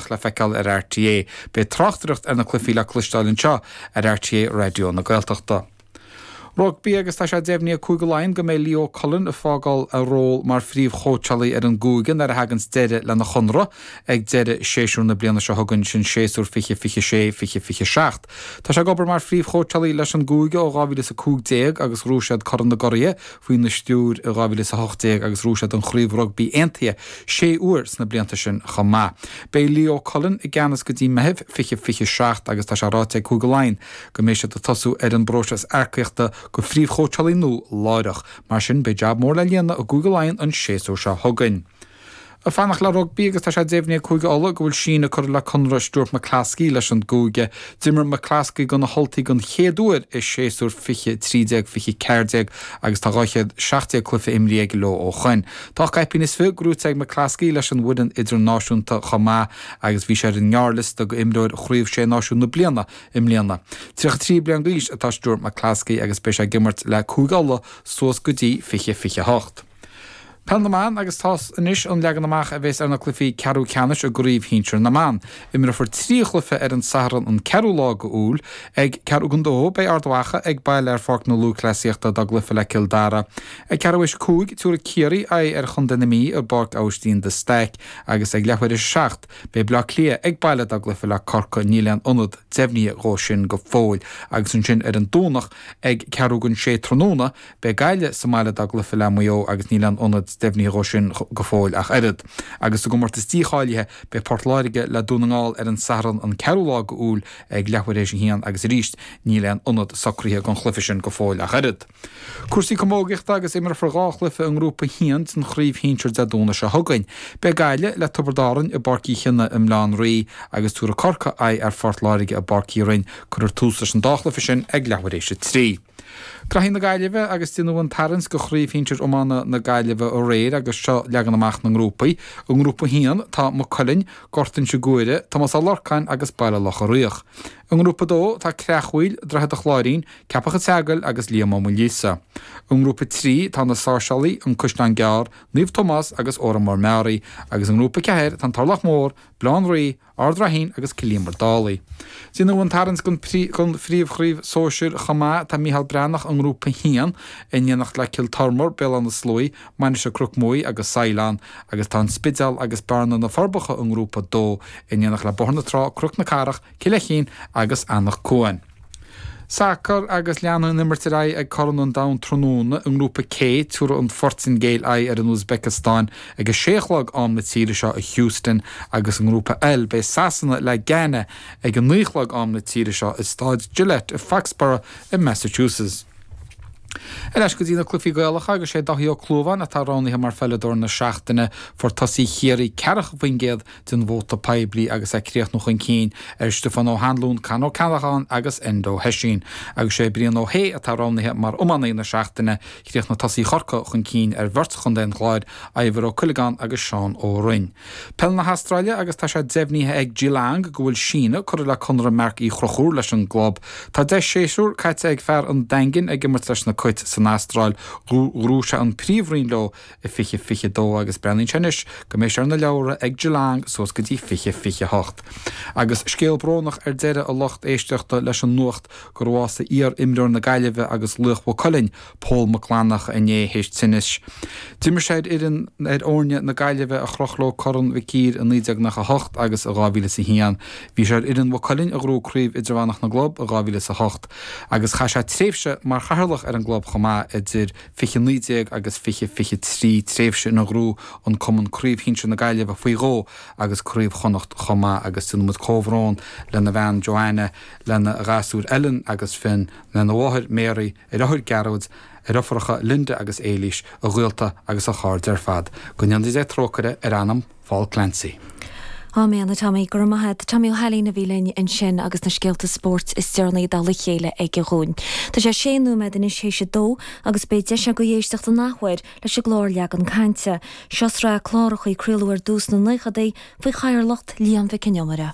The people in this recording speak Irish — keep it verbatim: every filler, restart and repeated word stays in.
Domhnach le feiceáil ar RTÉ. Beidh tráchtaireacht ar na cluichí le cloisteáil anseo ar RTÉ Raidió na Gaeltachta. Rugbaí agus tá sé deimhnithe ag Cúige Laighean go mbeidh Leo Cullen ag fágáil a ról mar phríomhchóitseálaí ar an gcúige nuair a thaganns deireadh lena chonradh ag deireadh séasúr na bliana seo chugainn, sin séasúr fiche fiche sé, fiche fiche seacht. Tá sé ag obair mar phríomhchóitseálaí leis an gcúige ó dhá mhíle is a cúig déag agus ghnóthaigh siad Corn na gCuraithe faoina stiúir i dhá mhíle is a hocht déag agus ghnóthaigh siad an Chraobh Rugbaí Aontaithe sé huair sna blianta sin chomh maith. Beidh Leo Cullen i gceannas go dtí Meitheamh fiche fiche seacht agus tá sé ráite ag Cúige Laighean go mbeidh siad ag tosú ar an bpróiseas earcaíochta go phríomhchóitseálaí nua láithreach. Mar sin, beidh jab mór le líonadh i gCúige Laighean an séasúr seo chugainn. Ag fanacht le rugbaí agus tá sé deimhnithe ag Cúige Uladh go bhfuil síneadh curtha le conradh Stuart McCloskey leis an gcúige. D'imir McCloskey do na hUltaigh den chéad uair i séasúr fiche trí déag fiche ceathair déag agus tá dhá chéad seacht déag cluiche imrithe aige leo ó shoin. Tá ocht gcaipín is fiche gnóthaithe ag McCloskey leis an bhfoireann idirnáisiúnta chomh maith agus bhí sé ar an ngearrliosta d'imreoir Chraobh Sé Náisiún na bliana i mbliana. Tríocha trí bliain d'aois atá Stuart McCloskey agus beidh sé ag imirt le Cúige Uladh suas go dtí fiche fiche hocht. Peil na mBan agus tá anois an leagan amach a bheas ar na cluichí ceathrú ceannais i gCraobh Shinsir na mBan. Imreofar trí chluiche ar an Satharn an ceathrú lá go Iúil. Ag ceathrú don dó beidh Ard Mhacha ag baile ar Pháirc na Lúthchleasaíochta dá gcluiche le Cill Dara. Ag ceathrú théis a cúig tabharfaidh Ciarraí aghaidh ar Chontae na Mí i bPáirc Aibhistín de Staic agus ag leathuair théis a seacht beidh Bleá Cliath ag baile dá gcluiche le Corcaigh. Níl aon ionad deimhnithe dhó sin go fóill. Agus ansin ar an Domhnach ag ceathrú don sé tráthnóna beidh Gaillimh sa mbaile dá gcluiche le Maigh Eo agus níl aon ionad deimhnithe dhó sin go fóill ach oiread. Agus sa gcomórtas dícháilithe beidh Port Láirge le Dún na nGall ar an Satharn an ceathrú lá go Iúil ag leathuair théis a haon agus arís níl aon ionad socraithe don chluiche sin go fóill ach oiread. Cúrsaí camógaíochta agus imreofar dhá chluiche i nGrúpa a haon den Chraobh Shinsir Dé Domhnaigh seo chugainn. Beidh Gaillimh le Tiobraid Árann i bPáirc Uí Chionnaith i mBaile Átha an Rí agus tabharfaidh Corcaigh aghaidh ar Phort Láirge i bPáirc Uí Rinn. Cuirfear tús leis an dá chluiche sin ag leathuair théis a trí. Graithí na Gaillimhe agus déanadh an tarraingt do Chraobh Shinsir Iomána na Gaillimhe aréir agus seo leagan amach na ngrúpaí. I ngrúpa a haon tá Maigh Cuilinn, Gort Inse Guaire, Tomás Ó Lorcáin agus Baile Locha Riach. I ngrúpa a dó tá Creachmhaoil, Droichead a' Chláirín, Ceapach an tSeagail agus Liam Ó Maoilíosa. I ngrúpa a trí tá na Sáirséalaigh, An Caisleán Gearr, Naomh Tomás agus Órán Mór Meáraí agus i ngrúpa a ceathair tá an Turlach Mór, Baile Átha an Rí, Ard Raithin agus Cill Íomair Dálaigh. Déanadh an tarraingt don Phríomhchraobh Sóisir chomh maith. Tá Mícheál Breathnach i ngrúpa a haon, in éineacht le Cill Tormar, Béal Átha na Sluaighe, Mainistir Chnoc Muaidhe agus Saighleán, agus tá An Spidéal agus Bearna na Forbacha i ngrúpa a dó, in éineacht le Bóthar na Trá, Cnoc na Cathrach, Cill Fheichín agus Anach Cuain. Sacar agus leanfaidh an imirt ar aghaidh ag Corn an Domhain tráthnóna i nGrúpa C. Tabharfaidh an Phortaingéil aghaidh ar an Úisbeiceastáin ag a sé a chlog am na tíre seo i Houston agus i nGrúpa L beidh Sasana le Ghana ag a naoi a chlog am na tíre seo i Staid Gillette i Foxborough i Massachusetts. Ar ais go dtí na cluichí Gaelacha agus sé Dáithí Ó Clúmháin atá roghnaithe mar pheileadóir na seachtaine. Fuair tosaí Chiarraí ceathracha faoin gcéad den vóta poiblí agus é ag críochnú chun cinn ar Stiofán Ó hAnluain, Con Ó Ceallacháin agus Enda Ó hOisín. Agus sé Brian Ó hAodha atá roghnaithe mar iománaí na seachtaine. Chríochnaigh tosaí Chorcaí chun cinn ar bheirt Chontae an Chláir, Ivor Ó Cuileagáin agus Seán Ó Rinn. Peil na hAstráile agus tá sé deimhnithe ag Geelong go bhfuil síneadh curtha le conradh Marc Uí Chonchúir leis an gclub. Tá deich séasúr caite ag fear an Daingin ag imirt leis na Cait san Astráil. Ghnóthaigh sé an Príomhroinn leo i fiche fiche dó agus breathnaíonn sé anois go mbeidh sé ar na leabhra ag Geelong suas go dtí fiche fiche hocht. Agus scéal brónach ar deireadh a lucht éisteachta leis an nuacht gur bhásaigh iar-imreoir na Gaillimhe agus laoch Mhaigh Cuilinn, Pól Mac Fhlanncha inné théis tinnis. D'imir sé ar fhoireann ar fhoirne na Gaillimhe a chroch leo Corn Mhic Uidhir i naoi déag nócha a hocht agus i dhá mhíle is a haon. Bhí sé ar fhoireann Mhaigh Cuilinn a ghnóthaigh Craobh Idirmheánach na gClub i dhá mhíle is a hocht agus chaith sé tréimhse mar chathaoirleach ar an gclub chomh maith idir fiche naoi déag agus fiche fiche trí, tréimhse ina ghnóthaigh an cumann Craobh Shinsir na Gaillimhe faoi dhó agus Craobh Chonnacht chomh maith agus déanann muid comhbhrón lena bhean Joanna, lena ghasúir Ellen agus Finn, lena mháthair Mary, a dheartháir Gearóid, a dheirfiúracha Linda agus Éilís, a ghaolta agus a chairde ar fad. Go ndéana Dia trócaire ar anam Phól Clancy. Áiméan, a Tommy. Go raibh maith agat. Tommy Ó hAilín a bhí linn ansin agus na scéalta spóirt is deireanaí i dtoll a chéile aige dhúinn. Tá sé sé nóiméad anois théis a dó agus beidh deis agaibh éisteacht an athuair leis an gclár Leagan Cainte. Seo sraith cláracha a craoladh ar dtús sna naochadaí faoi chathaoirleacht Liam Mhic Con Iomaire.